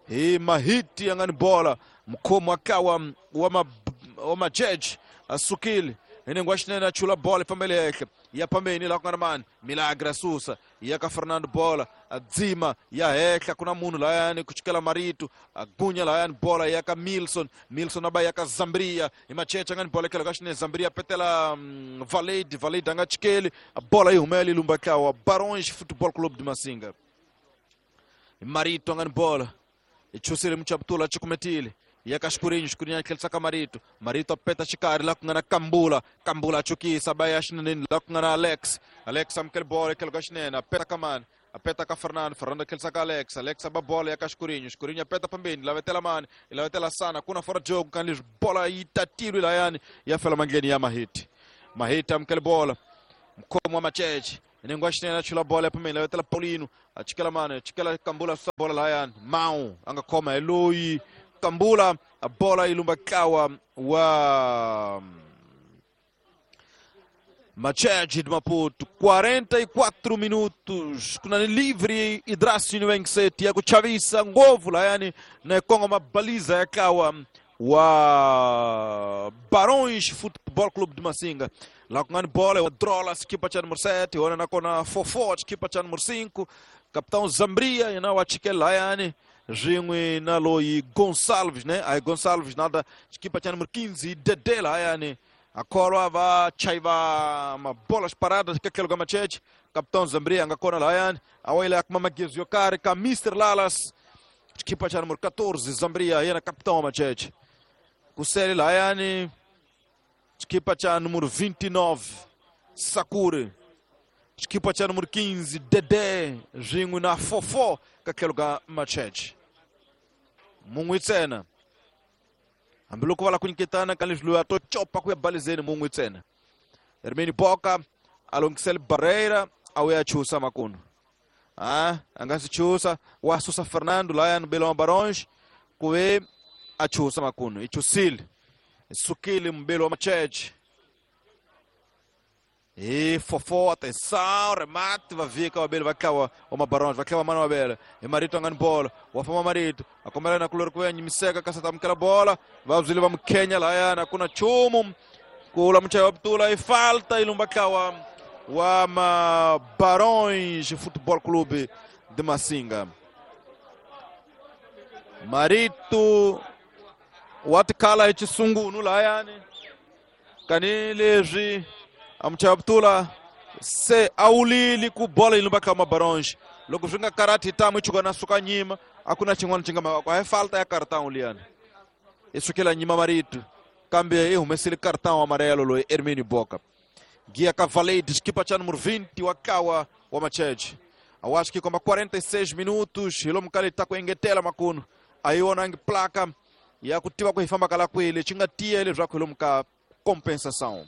E Mahiti, angani bola, mkomo akawa, wa Macheche, asukili. Inengwashinena chula bola family yake ya pambeni la kungamani Milagre Susa ya ka Fernando bola adzima ya heka kuna munhu la yani kuchikela Marito agunya la yani bola ya ka Milson Milson aba ya ka Zambria imachecha ngani bola kela kashine Zambria petela um, Valade Valade anga chikeli bola ihumeli lumbakawa Barões Futebol Clube de Massinga Marito ngani bola ichusile mchaptula chikumetile ya Escurinho, Escurinho aquele saca Marito, Marito apeta chikari lá com na Cambula, Cambula chukisa baya shinene lá com na Alex, Alex amkel bola aquele gashnena, apeta kaman, Apeta ka Fernando, Fernando khelsa ka Alex, Alex aba bola ya ka Escurinho, Escurinho apeta pambeni, lavetela mani, lavetela sana, kuna fora jogo kan leswi bola yi tatilwe layani ya fela mandleni ya Mahiti. Mahiti amukele bola. Mkhomo wa Macheche, nengo wa xinene a chula bola ya pambeni, lavetela Paulino, a chikela mani, a chikela Kambula susa bola layani. Mau a nga khoma hi loyi Kambula, a bola yi lumba ntlawa wa Macheche de Maputo. Quarenta e quatro minutos kuna ni livre Idrasi Niwengseti ya kuchavisa ngovu layani na kongo mabaliza ya kawa wa Barões Futebol Clube de Massinga. Lá com a bola, o Drola, equipa cha número sete, ona na kona Fofó, equipa cha número cinco, capitão Zambria, e na Wachikel layani, Ringue na Loi Gonçalves, né? Aí Gonçalves nada, equipa cha número quinze, Dedé layani. Akorwa va chaiva ma bolas paradas que aquele Macheche, capitão Zambria anga kona layani, awele akmama gezo yokari ka mister Lalas, equipa cha número catorze, Zambria, yena capitão Macheche. Kuseli layani, equipa cha número vinte e nove, Sakure, equipa cha número quinze, Dedé, Ringo na Fofó, que aquele Macheche. Munguitsena. Hambiloko va la ku nyiketana ka leswi loyi a to copa ku ya balizeni mun'wi ntsena. Hermini Boka a longhisela Barreira a wu ya chusa makunu. Ah, a nga si chusa, wa susa Fernando layani Belo wa Barões ku ve a chusa makunu. I chusile. I sukile Mbelo wa Macheche. E Fofó, atenção, remate, vai vir com o Abel, vai cá o Barões, vai cá o Mano Abel. E Marito angando bola, o Afama Marito, a comer na color com ele, me seca, caça tá aquela bola, vai o Zilva Kenya lá, na kuna chumo, kula mcha Abdula e falta e lumba cá o Ama Barões Futebol Clube de Massinga. Marito, o Atkala e Tsungu no lá, Canilegi. Amchabtula se aulili ku bola ilumba kama Barões. Loko swi nga karati tamu chuka na suka nyima, akuna xin'wana xi nga maka. Hi falta ya cartão liyani. I sukela nyima Marito. Kambe i humesile cartão amarelo loyi Hermínio Boca. Guia Cavaleiro, equipa cha número vinte wa kawa wa Macheche. Eu acho que como quarenta e seis minutos, hilomu kali ta ku engetela makunu. A yi vonangi placa ya ku tiva ku hi famba kala kwele, xi nga tiya leswaku hilomu ka compensação.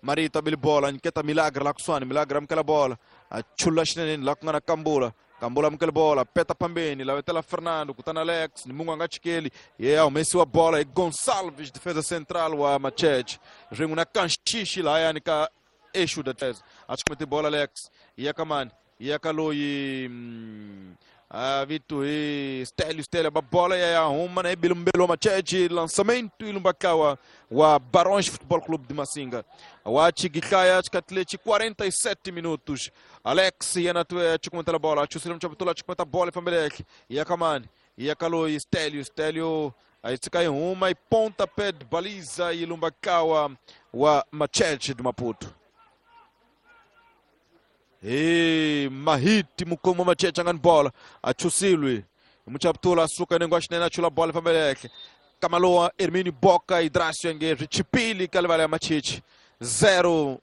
Marito abili bola, nyiketa Milagre la kuswani, Milagre amukela bola, achula xinene la ku nga na Kambula, Kambula amukela bola, peta pambeni, la vetela Fernando, kutana Alex, ni mungu anga chikeli, ye yeah, humesiwa bola e Gonçalves, defesa central wa Macheche. Ringu na Kanchichi la yani ka eixo da defesa. Achikumete bola Alex, iya kamani, iya kaloyi mm, ah, Vitor e Stélio, Stélio, a bola e a Roma, né? Bilumbelo Macheche, lançamento e Lumbakawa, o Barões Futebol Clube de Massinga. O Atigicaia, Atleti, quarenta e sete minutos. Alex, e a tua, te comenta a bola. Tchussilão, Tchabutula, te comenta a bola e Familek. E a Kamani, e a Caloi, Stélio, Stélio, aí se cai uma e pontapé de baliza e Lumbakawa, o Macheche de Maputo. E Mahiti mukomo Macheche angani bola achusilwi muchaptula suka nengo ashinena chula bola fameleke Kamaloa Hermínio Boca e Drácio Enguejo Chipili Calvalé Macheche zero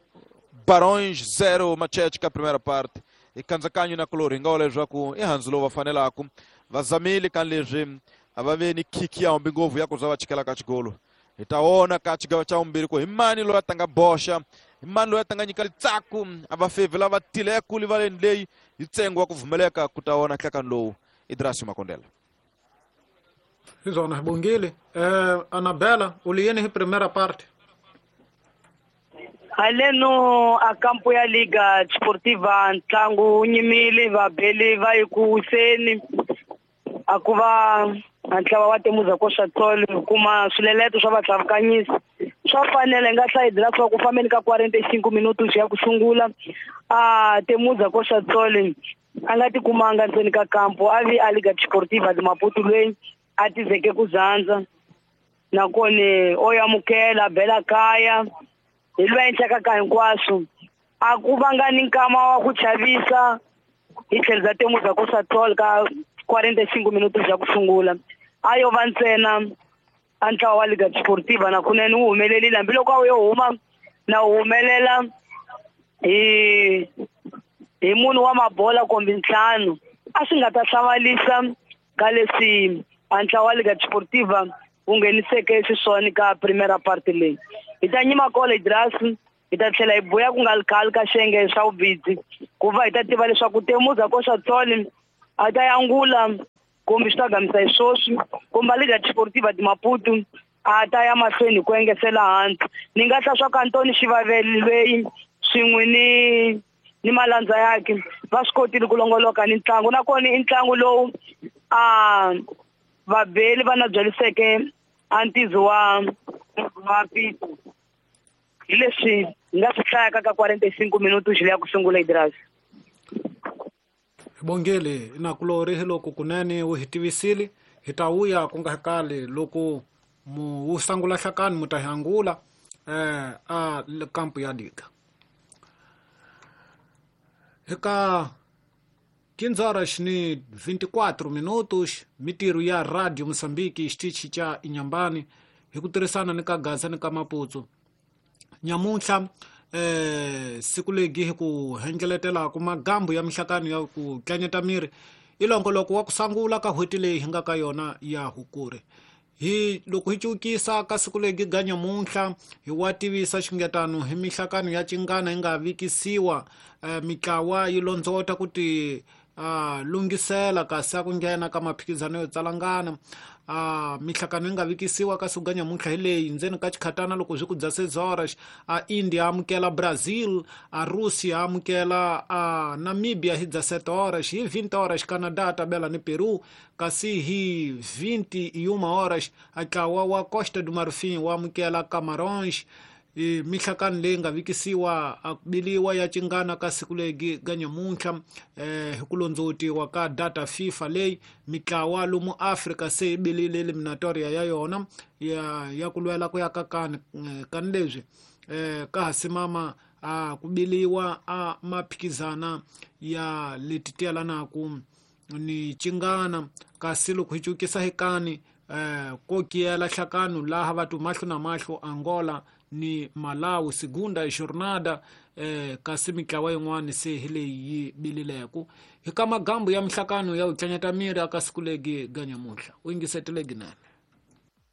Barões zero Macheche ka primeira parte e kanzakanyo na kolori ngole zwaku e Hanzlo vafanelaku vazamili kanleje avaveni kiki ya mbingovu yako zava chikela kachigolo itaona kachigawa cha umbiri ko imani lo atanga bosha imani lo atanga nyika litsaku abafevi lava tileku livaleni leyi itsengo wa kuvumeleka kutaona hlakani lowu Idrasio Makondela. Zona bongile eh, Anabela uliyeni hi primeira parte haleno a campo ya Liga Desportiva ntlangu wu nyimile vabeli va yi ku wiseni a ku va ntlawa wa Temuza Koxatsolo kuma swileleto swa vatlavukanyisi swa fanele nga hlayidela swa ku fambeni ka quarenta e cinco minutos ya ku sungula a Temuza Koxatsolo a nga tikumanga ndzeni ka kampo a vi a Liga Desportiva de Maputo loyi a tizeke ku zandza nakona o amukela bela kaya hi lwa endlaka ka hinkwaswo a ku vanga ni nkama wa ku chavisa hi tlhelo bya Temuza Koxatsolo ka quarenta e cinco minutos ya ku sungula a yo va ntsena a ntlawa wa Liga Desportiva na kunene wu humelerile hambiloko a wu yo huma na wu humelela hi hi munhu wa mabola kumbe ntlhanu a swi nga ta hlamalisa ka leswi a ntlawa wa Liga Desportiva wu ngheniseke xiswona ka primera parte leyi. Hi ta nyima kona Idras, hi ta tlhela hi buya ku nga ri khale ka xiyenge xa vubidzi ku va hi ta tiva leswaku Temuza Koxatsole a ta yangula kumbe swi ta gamisa hi swoswi kumbe Liga Desportiva de Maputo a ta ya mahlweni ku engesela hansi. Ni nga hla swa ka Antoni Xivaveli lweyi swin'we ni ni malandza yakhe va swi kotile ku longoloka ni ntlangu, nakona i ntlangu lowu a vabeli va na byeliseke a ntizo wa wa Pito. Hi leswi hi nga swi hlayaka ka quarenta e cinco minutos leya ku sungula, Idras. Hi bongele nakulori hi loko kunene wu hi tivisile hi ta vuya ku nga kali loko mu wu sangula hlakani mu ta hi angula eh a kampu ya liga. Eka quinze horas ni vinte e quatro minutos, mitirho ya Radio Moçambique xitichi xa Inhambane hi ku tirhisana ni ka Gaza ni ka Maputo nyamuntlha eh siku legi hi ku hengeletela ku magambu ya mihlakano ya ku tlanyeta miri i longoloko wa ku sangula ka n'hweti leyi hi nga ka yona ya Hukuri. Hi loko hi cukisa ka siku legi ga nyamuntlha hi wa tivisa xingetano hi mihlakano ya cingana yi nga vikisiwa eh, mitlawa yi londzota ku ti uh, lunghisela kasi a ku nghena ka maphikizano yo tsalangana. uh, mihlakano yi nga vikisiwa ka siku ga nyamuntlha hi leyi ndzeni ka xikhatana loko swi ku dya seis horas a India amukela Brazil, a Russia amukela a Namibia hi dya sete horas, hi vinte horas Canada tabela ni Peru, kasi hi vinte e uma horas a ntlawa wa Costa do Marfim wa amukela Camarões. E mihlakano leyi nga vikisiwa a ku biliwa ya cingana ka siku legi ga nyamuntlha eh hi ku londzotiwa ka data FIFA leyi mitlawa lomu Afrika se yi bilile eliminatoria ya yona ya ya ku lwela ku ya ka kani kani leswi eh ka ha simama a ku biliwa a maphikizana ya leti tiyelanaku ni cingana. Kasi loko hi cukisa hi kani eh ko kiyela hlakano laha vatu mahlo na mahlo Angola ni Malawi segunda jornada eh kasi mitlawa yin'wana se hi leyi yi bilileku hi ka magambu ya mihlakano ya ku tlanyeta miri aka siku legi ga nyamuntlha u yingisetelegi nene.